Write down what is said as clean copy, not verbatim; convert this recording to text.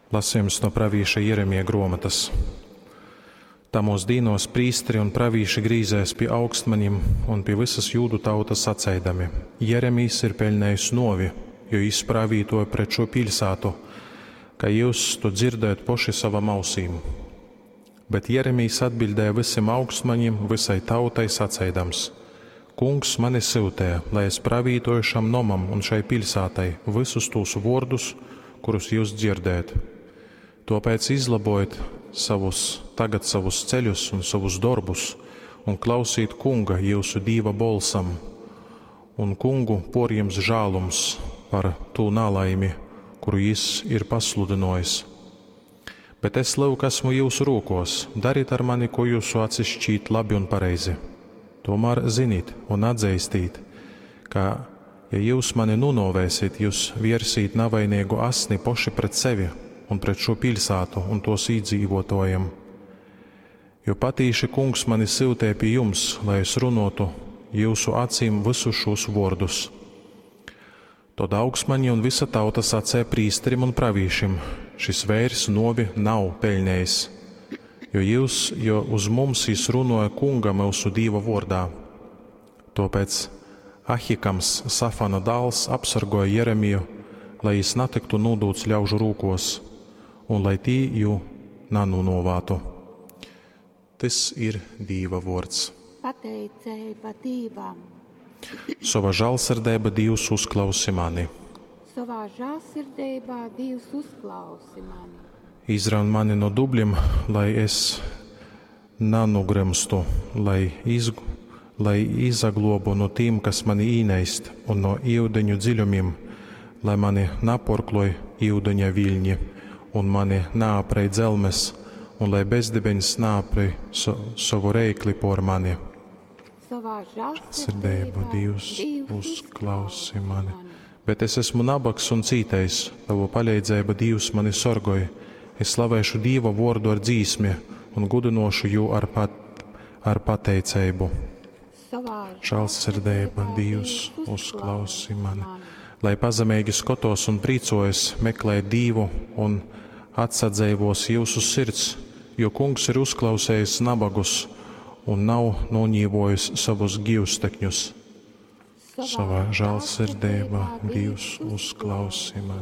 Lasījums no pravīša Jeremija gruomotas. Tamōs dīnōs prīsteri un pravīši grīzēs pi augstmanim un pi vysas jūdu tautas saceidami: Jeremijs ir peļnējis nōvi, jo jys pravītoja pret šū piļsātu, kai jyus tu dzirdējot poši savam ausīm. Bet Jeremijs atbiļdēja vysim augstmaņim, vysai tautai saceidams: Kungs mani syutēja, lai es pravītoju šam nomam un šai piļsātai vysus tūs vōrdus, kurus jyus dzirdējat. Tōpēc izlabojit savus, tagad savus ceļus un savus dorbus, un klausīt Kunga, jyusu Dīva bolsam, un Kungu pōrjims žālums par tū nalaimi, kuru jys ir pasludynōjis. Bet es, lyuk, esmu jyusu rūkōs, darit ar mani, ko jūsu acis šķīt labi un pareizi. Tomēr zinit un atzeistīt, ka, ja jyus mani nūnōvēsit, jyus viersīt navainīgu asni poši pret sevi un pret šo piļsātu un tos iedzīvotājiem. Jo patīši kungs mani syutēja pie jums, lai es runotu jūsu acīm visus šos vārdus. Tad augstmaņi un visa tauta sacēja prīsterim un pravīšim: šis veirs novi nav peļnējis, jo jūs, jo uz mums jis runoja kunga mūsu Dīva vārdā. Tāpēc Ahikams, Safana dāls, apsargoja Jeremiju, lai jis natiktu nūdūts ļaužu rūkos, un lai tī jū nanūnovātu. Tys ir Dīva vārds. Pateiceiba Dīvam. Sova žālsirdeiba Dīvs uzklausi mani. Savā žālsirdībā Dievs uzklausi mani. Izraun mani no dubļiem, lai es nanugrimstu, lai, iz, lai izaglobu no tīm, kas mani īneist, un no iudeņu dziļumiem, lai mani naporkloj iudeņa viļņi, un mani naaprej dzelmes, un lai bezdibeņs naaprej so, savu reikli por mani. Savā Sirdību žālsirdībā Dievs uzklausi mani. Bet es esmu nabags un cītējs, tavu palīdzība Dievs mani sorgoj. Es slavēšu Dieva vārdu ar dzīsmi un gudinošu jū ar, pat, ar pateicību. Savā Žālsirdība Dievs uzklausi mani. Lai pazemīgi skatos un prīcojas, meklē Dievu un atsadzēvos jūsu sirds, jo kungs ir uzklausējis nabagus un nav noņīvojis savus gīvstekņus. Savā žālsirdībā Dievs uzklausi mani.